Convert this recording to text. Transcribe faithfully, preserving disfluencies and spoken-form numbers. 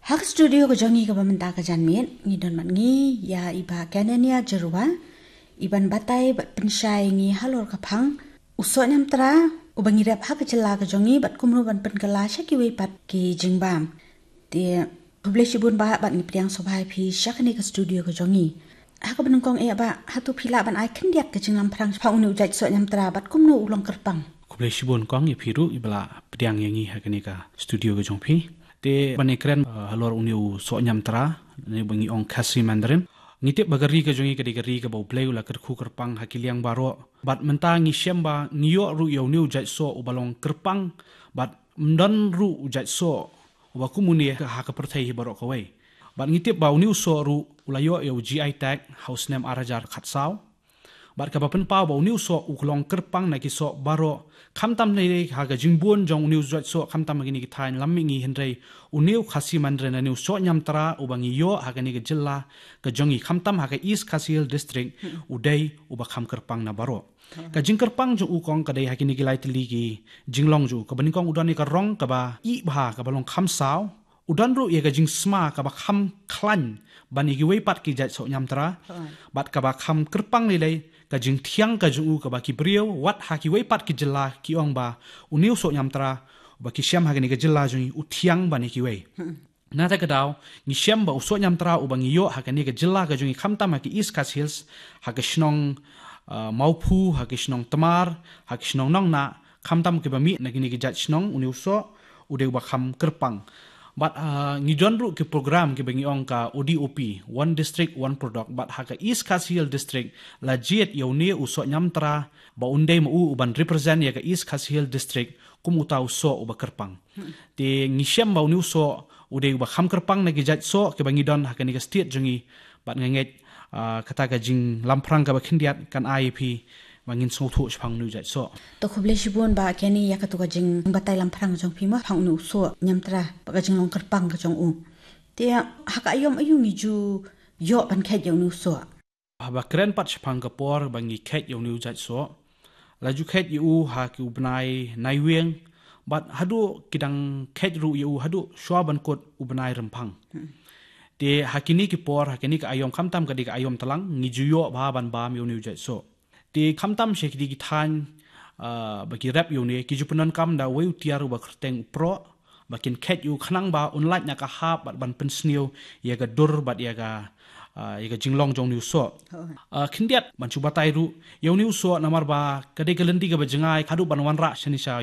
Ha ka studio ka jong ngi kaba mynta ka janmiet, ngi don bad ngi ïa i Bah Kenenia Jyrwa, i ban batai bad pynshai ngi halor ka phang u soh ñiamtra uba ngi rep ha ka jylla ka jong ngi bad kumno ban pynkylla sha kiwei pat ki jingbam. Te khublei shibun Bah, bad ngi pdiang sngewbha ïa phi sha kane ka studio ka jong ngi. Ha kaba nyngkong eh Bah, hato phi lah ban ai khyndiat ka jinglamphrang shaphang une u jait soh ñiamtra bad kumno u long kyrpang? Khublei shibun kong ïa phi ruh iba la pdiang ïa ngi ha kane ka studio ka jong phi. Te ban ïakren, eh, halor une u soh ñiamtra, ne ba ngi ong Khasi Mandarin. Ngi tip ba ka ri ka jong ngi ka dei ka ri kaba U Blei u la kyrkhu kyrpang ha ki liang baroh. Bad mynta ngi shem ba ngi ïoh ruh ïa une u jait soh uba long kyrpang. Bad ym don ruh u jait soh uba kum une ha ka pyrthei hi baroh kawei. Bad ngi tip ba une u soh ruh u la ïoh ïa u G I tag ha u snem ar hajar khatsaw. Bad kaba pynpaw ba une u soh u long kyrpang na ki soh baroh, khamtam ne ha ka jingbun jong une u jait soh, khamtam ha kine ki thaiñ lam mihngi, hynrei une u Khasi Mandarin ne u soh ñiamtra uba ngi ïoh ha kane ka jylla ka jong ngi, khamtam ha ka East Khasi Hills District, u dei uba kham kyrpang na baroh. Ka jingkyrpang jong u kong ka dei ha kine ki lai tylli ki jinglong jong u. Kaba nyngkong u don ïa ka rong kaba ih bha kaba long kham saw. U don ruh ïa ka jingsma kaba kham khlaiñ ban ïa kiwei pat ki jait soh ñiamtra. Bad kaba kham kyrpang lei lei ka jingthiang ka jong u kaba ki briew wat ha kiwei pat ki jylla ki ong ba une u soh ñiamtra uba ki shem ha kane ka jylla jong ngi u thiang ban ïa kiwei. Nangta ka daw ngi shem ba u soh ñiamtra uba ngi ïoh ha kane ka jylla ka jong ngi khamtam ha ki East Khasi Hills, ha ka shnong, ah, Mawphu, ha ki shnong Tmar, ha ki shnong Nongnah, khamtam kiba mih na kine ki jait shnong, une u soh u dei uba kham kyrpang. Bad, ah, ngi don ruh ki program kiba ngi ong ka O D O P, One District, One Product. Bad ha ka East Khasi Hills District la jied ïa une u soh ñiamtra ba un dei ma u uban represent ïa ka East Khasi Hills District kum uta u soh uba kyrpang. Te ngi shem ba une u soh u dei uba kham kyrpang na ki jait soh kiba ngi don ha kane ka state jong ngi. Bad nga ngeit, ah, kata ka jinglamphrang kaba khyndiat kan ai ïa phi ba ngin sngewthuh shaphang une u jait soh. To khublei shibun Bah Kenny ïa kato ka jingbatai lamphrang jong phi mo shaphang une u soh ñiamtra bad ka jinglong kyrpang ka jong u. Te ha ka aïom aïu ngi ju ïoh ban kheit ïa une u soh? Haba kren pat shaphang ka por ba ngi kheit ïa une u jait soh, la ju kheit ïa u ha ki u bnai Naiwieng, bad haduh ki dang kheit ruh ïa u haduh shwa ban kut u bnai Rymphang. Te ha kine ki por, ha kine ki aïom, khamtam ka dei ka aïom tlang, ngi ju ïoh bha ban bam ïa une u jait soh. Te khamtam sha kine ki thaiñ, ah, ba ki rep ïa une, ki ju pyndonkam da uwei u tiar uba kyrteng u proh, ba kin kheit ïa u khnang ba un lait na ka hap bad ban pynsniew ïa ka dur bad ïa ka, ah, ïa ka jinglong jong une u soh. Ah, khyndiat ban shu batai ruh ïa une u soh namar ba ka dei ka lynti kaba jngai haduh ban wanrah shane sha